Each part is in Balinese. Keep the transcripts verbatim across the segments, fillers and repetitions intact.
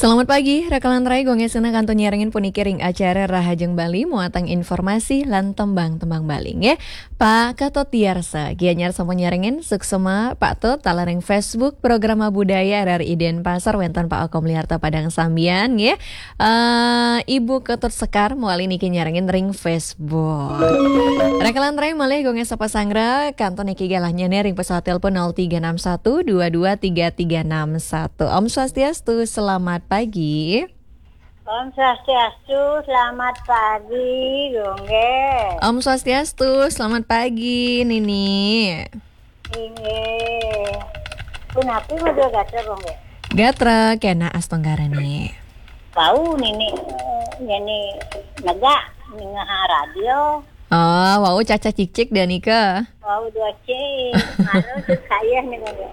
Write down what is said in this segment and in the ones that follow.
Selamat pagi, rakalan rai, gue Ngesena kantun nyarengin puniki ring acara Rahajeng Bali, muatang informasi lan tembang-tembang Bali, nggih. Pak Ketut Diarsa, Gianyar sampun nyarengin, suksema, Pak Tut, taler ring Facebook, Programa Budaya R R I Denpasar, wenten Pak Okom Liarta Padang Sambian, nggih. Eh, Ibu Ketut Sekar, mawali niki nyarengin ring Facebook. Rakalan rai malih gue Ngesa Pasangra, kantun niki galah nyene ring pesawat telepon nol tiga enam satu dua dua tiga tiga enam satu. Om Swastiastu, selamat pagi. Om Swastiastu, selamat pagi, Gongge. Om Swastiastu, selamat pagi, Nini. Inggih. Punapi madua gatra, Gongge? Gatra, kena astungkara, Ni. Bau, Nini, eh, nyeni negak, ningah radio. Oh, wau caca cicik dah nika. Wau dua cik. Harus saya nih, Gongge.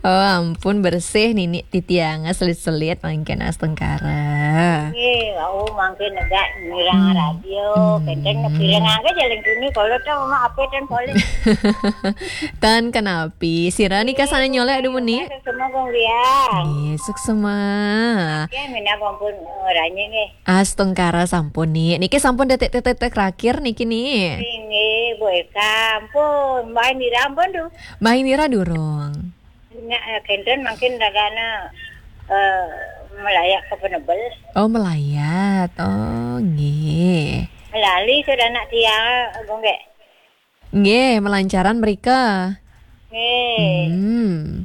Oh, ampun, bersih, Nini. Titiang selit-selit mangkin astungkara. Nggih, wau mangkin negak mireng radio, hmm, kenten pireng angge jalan kini, kalau tau mama ape ten poleh. Tan kenapi, sira nika sane nyolek aduh muni. Suksema, Gong Liang. Nggih, suksema. Ya, minab ampun, eh, ranye nggih. Astungkara sampun, Ni. Niki sampun detik-detik terakhir niki, Ni. Nggih, Bu Eka, ampun, Mbak Indira ampun tuh. Mbak Indira durung. Nya, eh, kenten mangkin ragana, eh, melayak ke penebel. Oh, melayat. Oh, nggih. Melali sudah anak tiang, Gongge. Nggih, melancaran mereka. Nggih. Hmm.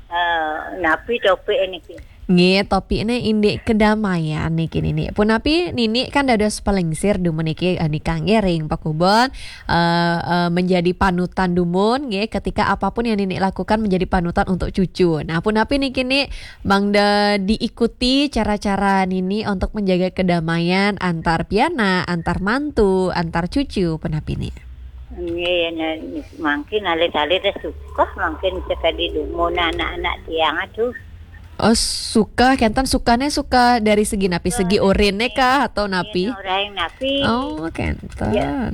Eh, napi topik niki? Nggih, topiknya indik kedamaian niki, Nini. Punapi Nini kan dados pelingsir dumun niki, eh, nikah nggih ring pakubon, eh, eh, menjadi panutan dumun nggih, ketika apapun yang Nini lakukan menjadi panutan untuk cucu. Nah, punapi niki, Ni, mangda diikuti cara-cara Nini untuk menjaga kedamaian antar pianak, antar mantu, antar cucu, punapi, Ni? Nggih, nah, mangkin alit-alit suka, mangkin sekadi dumun anak-anak tiang tuh. Oh, suka, kenten sukane suka dari segi napi, segi orine kah atau napi? Yen orang napi. Oh, kenten. Ya.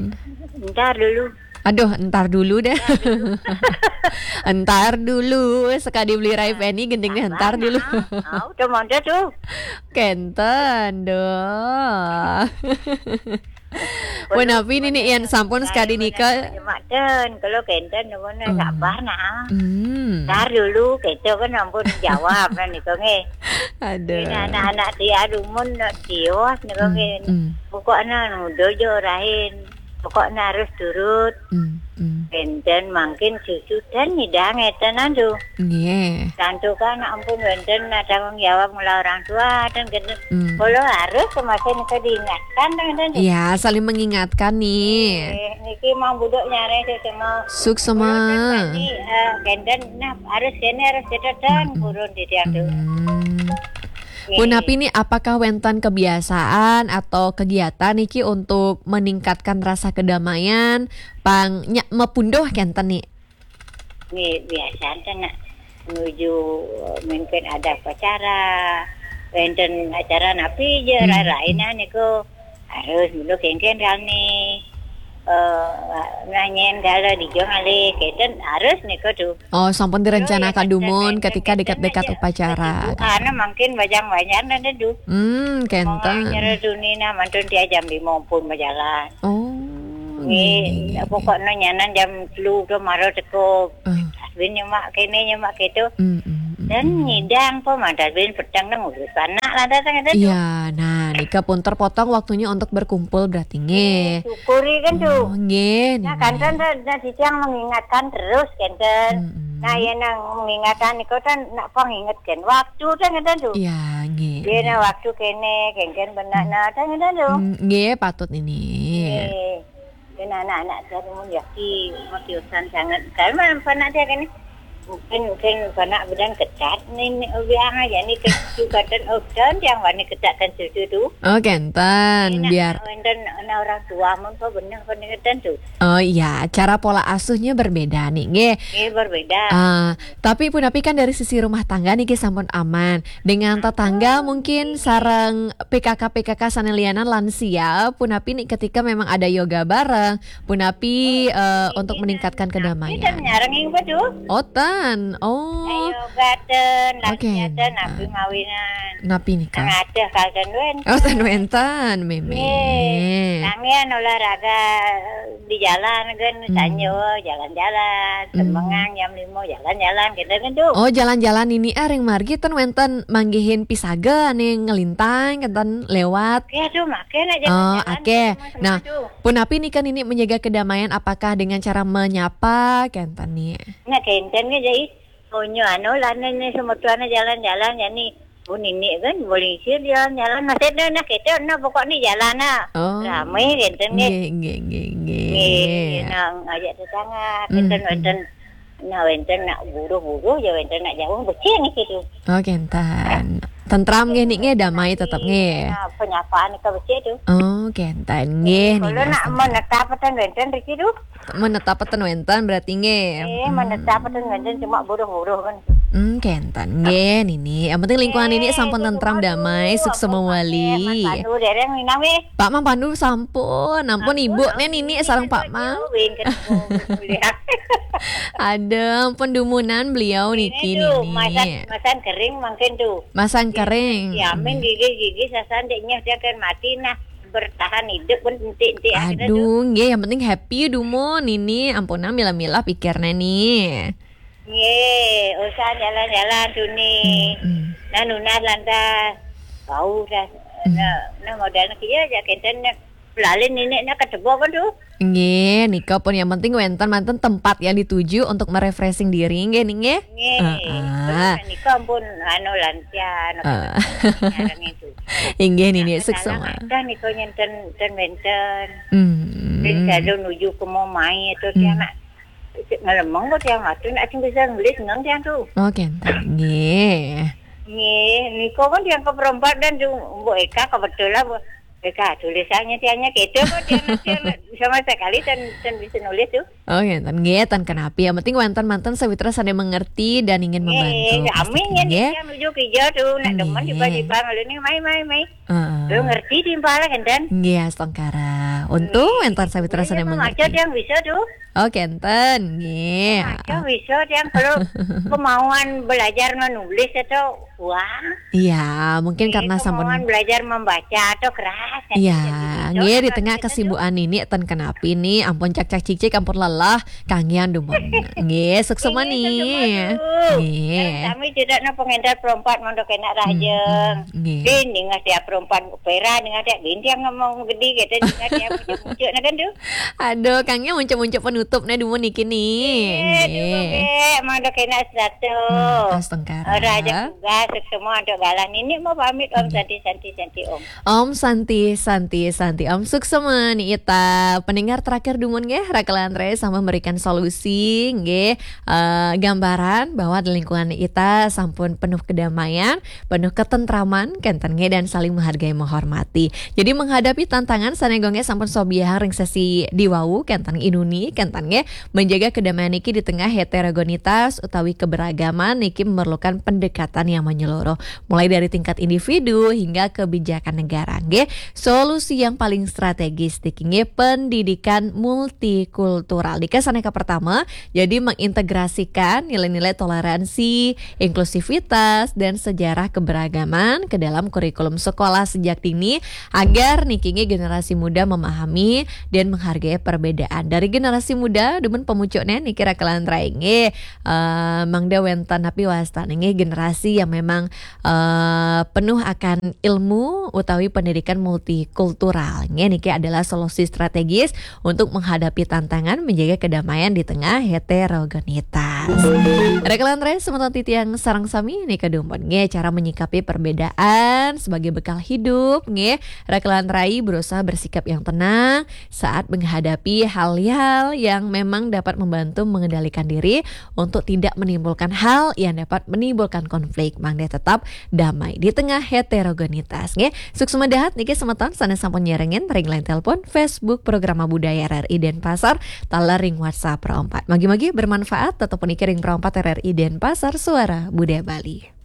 Ntar dulu. Aduh, ntar dulu deh. Ntar dulu. Ntar dulu, sekadi beli Rai Penny, gendingnya ntar dulu. Nah, ah, udah mondok tuh. Kenten, doh. Punapi Nini, yen sampun sekadi nika. Nyemak ten, kalau kenten, nuwun. Hmm. Sabar, nah. Hmm. Ntar dulu, keto kan ampun jawab, nah, nika nggih. Aduh. Ini anak-anak dia dumun, nak tiwas, nika nggih. Hmm, hmm. Pokoknya nuduh jo rahin. Pokoknya harus turut. Hmm, hmm. Kenten mangkin cucu ten nyidang ngeten, andu. Nggih. Tantu kan ampun wenten, nah, tanggung jawab mula orang tua, ten kenten. Hmm. Kalau harus, semasa nika diingatkan, ten kenten. Ya, saling mengingatkan, Ni. Eh, niki mau budok nyare sesama. Suksema. Kalau ten tadi, eh, kenten, nah, harus kene, harus keten, ten, hmm, purun di tiang tuh. Hmm. Nggih. Punapi, Ni, apakah wenten kebiasaan atau kegiatan niki untuk meningkatkan rasa kedamaian, pang nya mapunduh kenten, Ni? Nggih, biasane nak nuju mungkin ada upacara, wenten acara napi je, hmm, rarainan niku harus dulu kengken kami, eh, nganyen kala dijong alih, kenten harus niku tu. Oh, sampun direncanakan dumun ketika dekat-dekat upacara. Karena mungkin bajang-bajang dan teduh. Hmm, kenten. Mau acara tuni nah mantun tiap jam lima pun berjalan. Oh, nggih, nggih, nggih, pokoknya nyanan jam telu tu mara teko. Ah. Tasbih nyemak kene, nyemak keto. Hmm, hmm, hmm. Dan nyidang po, mantas bin petang nang urus anak lah datang ada tu. Iya, nah, nika pun terpotong waktunya untuk berkumpul berarti, nggih. Nggih, syukuri kan tu. Oh, nggih, nah, nggih, kenten, nah, nah, titiang mengingatkan terus, kenten. Hmm, hmm. Nah, ya nang mengingatkan niku kan nak pengingatkan waktu kan kenten tu. Iya, nggih, nggih. Dia nah waktu kene, kenten benar, hmm, nah, kan kenten tu. Hmm, nggih, patut ini. Nggih. Dan anak-anak saya pun yaki, motivasi sangat. Kalau mana anak dia kan ni, mungkin, mungkin anak bedan ketat ni, ni, biang aja ni, ke-, katan, oh, dan yang wani ketat kan cucu tu. Oh, kenten, biar. Wenten anak orang tua mun kau benar peningkatan tu. Oh iya, cara pola asuhnya berbeda nih, nggih. Nggih, berbeda. Ah, tapi punapi kan dari sisi rumah tangga niki sampun aman. Dengan tetangga mungkin sareng P K K-P K K sane lianan lansia, punapi nih ketika memang ada yoga bareng, punapi, eh, untuk meningkatkan kedamaian. Kita nyarengin betul. Oh, ta. Kan? Oh. Ayo gaten, Oke. Gaten, napi mawinan. Napi nika? Ngaceh kalten wénten. Oh, ten wénten, Mémé. Nggih. Sampeyan olahraga di jalan kan, Hmm. sanjo jalan-jalan, Hmm. semengan jam lima jalan-jalan, gitu kan tuh. Oh, jalan-jalan nini ah ring margi ten wénten manggihin pisaga ané ngelintang, kénten lewat. Ya tuh, maké nak Oh, jalan-jalan. oke. Tuh, Mas, Nah, tuh. punapi nika nini menjaga kedamaian, apakah dengan cara menyapa, kénten ni? Nah, kénten kan jadi, oh, nyo anu lah, nih, nih, semetuana jalan-jalan, jadi, oh, nini kan, boleh sih jalan-jalan, masih ada, nah, kita, nah, pokoknya jalan, nah. Oh. Ramai, kénten, nggih. Nggih, nggih, nggih, Nggih, nggih. nah, ngajak tetangga, Hmm, kénten, hmm. Wénten, nah, wénten, nak buruh-buruh, ya, wénten, nak jauh, becik nih, gitu. Oh, kénten. Tentram nggih ni nggih, damai tetep nggih. Nah, penyapaan ke becik tuh. Oh, kénten nggih Kalau nini nak astungkara. Menetap ten wénten, Riki, tuh. Menetap ten wénten berarti nggih. Eh, Hmm. Menetap ten wénten, cuma buruh-buruh kan. Hmm, kénten nggih nini. Yang penting lingkungan nini Eh, sampun itu tentram, kumaha damai, tuh, suksma ampun, wali. Mas Pandu, dereng minang wéh. Pak Mang Pandu sampun, ampun ibu, nih nini sareng Pak Mang. Wéh, kan, oh, kuliah. Ada, ampun dumunan beliau niki Ini tuh, nini. Masan, masan kering mungkin tuh. Masan kering. Diamin gigi-gigi sasan, deknya dia kan mati, nah, bertahan hidup pun enti-enti akhirnya tuh. Aduh, nggih, yang penting happy dumun nini, ampunang milah-milah pikirnya nih. Nggih, usah jalan-jalan tuh nih. Hmm, hmm. Nah, nunas lantas bau dah. Hmm. Nah, nah, modalnya kia aja, kénten, nah, pelalin nini, nah, ketebok kan tuh. Nggih, nika pun yang penting wénten manten tempat yang dituju untuk merefreshing diri, nggih, nih, nggih. Nggih. Heeh. Terus nika ampun anu lancar, anu Heeh. ngarang itu. Inggih nini, Nah, suksma. Ada nika nyenten ten wénten. Hmm. Terus kalau nuju ke mau main itu Hmm. dia nak ngelemeng kok dia ngatur nak sing bisa nulis nang dia tuh. Oh, kénten. Nggih. Nggih, nika kan dia ke perempat dan tuh Mbok Eka kebetulan Mbok Eka tulisannya tiangnya gitu kok dia, dia sama sekali dan dan bisa nulis tuh. Oh, kénten nggih, ten kenapi. Yang penting wénten manten sawitra sané mengerti dan ingin membantu. Nggih, Pasti amin ya nggih. Dia nuju kerja tuh, nak demen Nggih. tiba-tiba ngeluh nih, mai, mai, mai. Heeh. Lu ngerti timpal kan, Dan? Nggih, astungkara. Untung wénten sawitra sané Ini mah mengerti. Ada yang bisa tuh. Oh, kénten nggih. Ada bisa yang kalau kemauan belajar menulis itu wah. Iya, mungkin karena sampun Kemauan belajar membaca atau keras. Iya, Bisa, nggih di bisa, tengah bisa, kesibukan ini ten kenapi nih, ampun cak-cak cicik, ampun lelah, kangian dumun. Nggih, suksma Nggih, nih. suksma, Bu. Nggih. Kami tidak nak pengendar perompat mondok enak raja. Hmm, hmm, nggih. Di ningah tiap perompat pera ningah tiap bintiang ngomong gede gitu ningah tiap muncul-muncul nah kan tuh. Aduh, kangian muncul-muncul penutup nih dumun niki nih. Eh, dulu Nggih. Bek, mondok enak satu. Hmm, astungkara. Raja tugas semua untuk galah. Ini mau pamit Om Santi Santi Santi Om. Om Santi, Santi, Santi. Om suksma nih ita. Pendengar terakhir dumun nggih, Raka Lantre sama memberikan solusi nggih, eh, gambaran bahwa di lingkungan ita sampun penuh kedamaian, penuh ketentraman, kénten nggih, dan saling menghargai, menghormati. Jadi menghadapi tantangan sané nggih sampun sobiahang ring sesi diwau, kénten inuni, kénten nggih, menjaga kedamaian niki di tengah heterogenitas utawi keberagaman niki memerlukan pendekatan yang menyeluruh. Mulai dari tingkat individu hingga kebijakan negara nggih. Solusi yang paling strategis niki nggih pendidikan multikultural. Nika sané kapertama, jadi mengintegrasikan nilai-nilai toleransi, inklusivitas, dan sejarah keberagaman ke dalam kurikulum sekolah sejak dini agar niki nggih generasi muda memahami dan menghargai perbedaan. Dari generasi muda dumun pemucuknya niki Raka Lantre nggih, eh, mangda wénten napi wastana nggih generasi yang memang eh, penuh akan ilmu utawi pendidikan multikultural. Nggih, niki adalah solusi strategis untuk menghadapi tantangan menjaga kedamaian di tengah heterogenitas. Raka Lantre semeton titiang sareng sami nika dumun nggih cara menyikapi perbedaan sebagai bekal hidup nggih. Raka Lantre berusaha bersikap yang tenang saat menghadapi hal-hal yang memang dapat membantu mengendalikan diri untuk tidak menimbulkan hal yang dapat menimbulkan konflik. Mangda tetap damai di tengah heterogenitas nggih. Suksma dahat niki semeton sané sampun nyarengin ring line telepon, Facebook Programa Budaya R R I Denpasar, taler ring WhatsApp Pro empat. Mugi-mugi bermanfaat, tetep puniki ring Pro empat R R I Denpasar, Suara Budaya Bali.